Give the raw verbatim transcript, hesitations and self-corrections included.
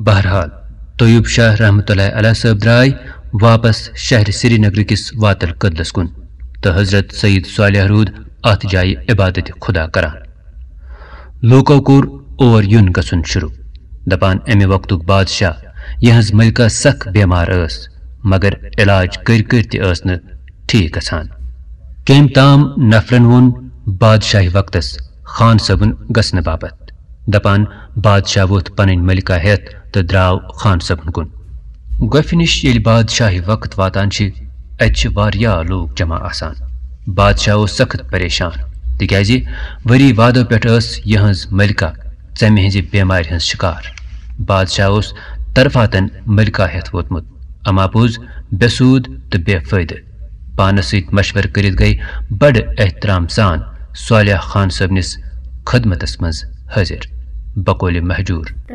بہرحال، طیوب شاہ رحمت اللہ علیہ صٲب درٛاے واپس شہر سرینگر کِس واتل کدلس کُن، تہٕ حضرت سید صالح روٗد اتھ جایہِ عبادت خدا کران۔ لوٗکو کوٚر اور یُن گژھُن شروٗع، دپان، امہِ وقتُک بادشاہ، یِہٕنٛز ملکہ سخ بیمار ٲس، مگر علاج کٔرۍ کٔرۍ تہِ ٲس نہٕ ٹھیٖک گژھان۔ کٔمۍ تام نفرن ووٚن بادشاہی وقتس خان صٲبُن گژھنہٕ باپتھ، دپان، بادشاہ ووٚتھ پنٕنۍ ملکہ ہٮ۪تھ تہٕ درٛاو خان صٲبُن کُن۔ گۄپھِ نِش ییٚلہِ بادشاہی وقت واتان چھِ، اتہِ چھِ واریاہ لوٗکھ جمع آسان۔ بادشاہ اوس سخت پریشان، تِکیازِ ؤری وادو پٮ۪ٹھ ٲس یِہٕنٛز ملکہ ژمہِ ہٕنٛزِ بیمارِ ہٕنٛز شکار۔ بادشاہ اوس طرفاتن ملکہ ہٮ۪تھ ووتمُت، اما پوٚز بے سوٗد تہٕ بے فٲیدٕ۔ پانس سۭتۍ مشورٕ کٔرِتھ گٔے بڑٕ احترام سان صالح خان صٲبنِس خدمتس منٛز حٲضِر بقولِ مہجوٗر۔